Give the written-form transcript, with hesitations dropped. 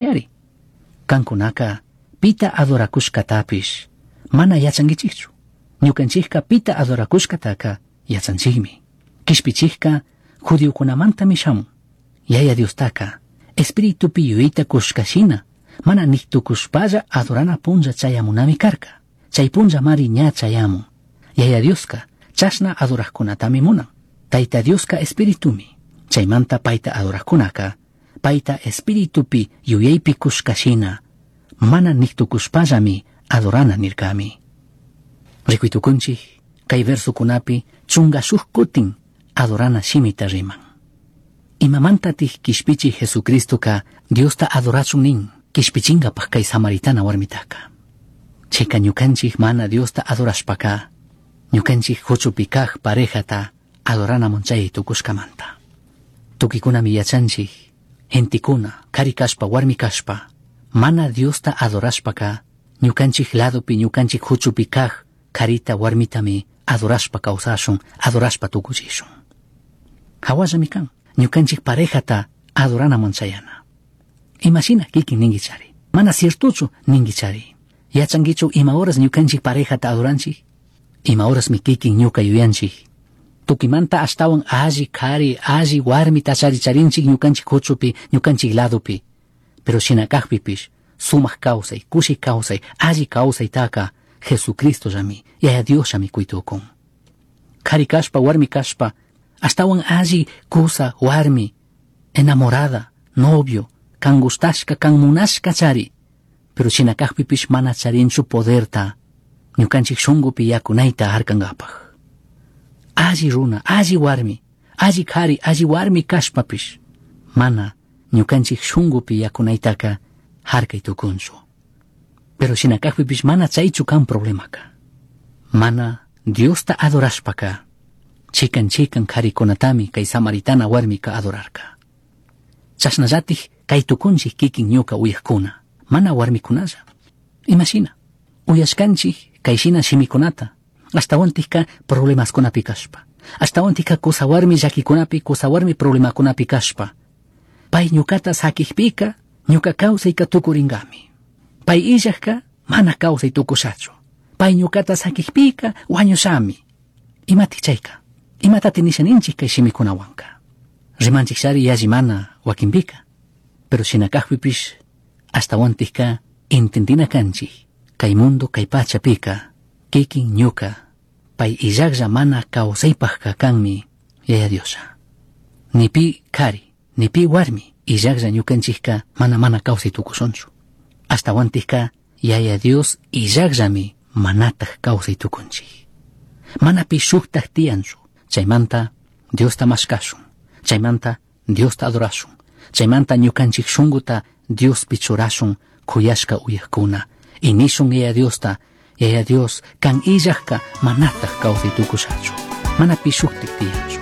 Yari. Cancunaca pita adoracushcatapish mana yachanguichijchu. Ñucanchijca pita adoracushcataca yachanchijmi. Quishpichijca judiocunamantami shamun. Yaya Diostaca espiritupi yuyayta cushca shina mana nij tucushpalla adorana punlla chayamunami carca. Chai punllamari ña chayamun. Yaya Diosca chashna adorajcunatami munan. Taita Diosca espiritumi. Chaimanta paita adorajcunaca paita espiritupi yuyaypi cushca shina mana nij tucushpallami adorana nircami. Ricui tucunchij cai versocunapi chunga shuj cutin adorana shimita riman. Imamantatik quishpichi Jesucristoca Diosta adorachun nin quishpichingapaj cai samaritana warmitaka. Chayka ñukanchik mana Diosta adorashpaka ñukanchik huchupi kaj parejata adoranaman chay tukushkamanta. Tukikunami yachanchik gentekuna kari kashpa warmi kashpa mana Diosta adorashpaka ñukanchik ladopi ñukanchik huchupi kaj karita warmitami adorashpa kawsashun adorashpa tukuchishun. Hawallami kan ñukanchik parejata adoranaman chayana. Imashina kikin ninguichari. Mana ciertochu ninguichari. Yachanguichu ima horas ñukanchik parejata adoranchik? Ima horasmi kikin ñuka yuyanchik. Tukimanta ashtawan alli kari, alli warmi tachari charinchik ñukanchik huchupi, ñukanchik ladopi. Pero shina kajpipish, sumak kawsay, kushi kawsay, alli kawsaytaka Jesucristo llami, Yaya Dios llami kuytukun. Kari kashpa, warmi kashpa, ashtawan alli kusa, warmi, enamorada, novio, kan gustashka, kan munashka chari. Pero shina kajpipish mana charinchu poderta, ñukanchik shungupi yakunayta harkankapaj. Alli runa, alli warmi, alli kari, alli warmi kashpapish, mana ñukanchik shungupi yakunaytaka harkay tukunchu. Pero shina kajpipish mana chaychu kan problemaka. Mana Diosta adorashpaka, chikan chikan karikunatami kay samaritana warmika adorarka. Chashnallatik kay tukunchik kikin ñuka uyajkuna, mana warmikunalla. Imashina, uyashkanchik kay shina shimikunata, ashtawantikka problemaskunapi kashpa, ashtawantikka kusa warmi llakikunapi, kusa warmi problemakunapi kashpa. Pay ñukata sakijpika, ñuka kawsayka tukuringami. Pay illajka mana kawsay tukushachu. Pay ñukata sakijpika wañushami. Imatik chayka? Imatati nisha ninchik kay shimikunawanka? Rimanchik shari yalli mana wakinpika. Pero shina kajpipish ashtawantikka entendina kanchik kay mundo kay pachapika kikin ñuka pay illajlla mana kawsaypajka kanmi Yaya Dioslla. Ni pi kari, ni pi warmi illajlla ñukanchikka mana mana kawsay tukushunchu. Ashtawantikka Yaya Dios illajllami manataj kawsay tukunchik. Mana pi shuktaj tiyanchu. Chaymanta Diosta mashkashun. Chaymanta Diosta adorashun. Chaymanta ñukanchik shunguta Diospi churashun kuyashka uyajkuna. Y nishun Yaya Diosta, Yaya Dios, kan illajka manataj kawsay tukushachu. Mana pi shuktik tiyanchu.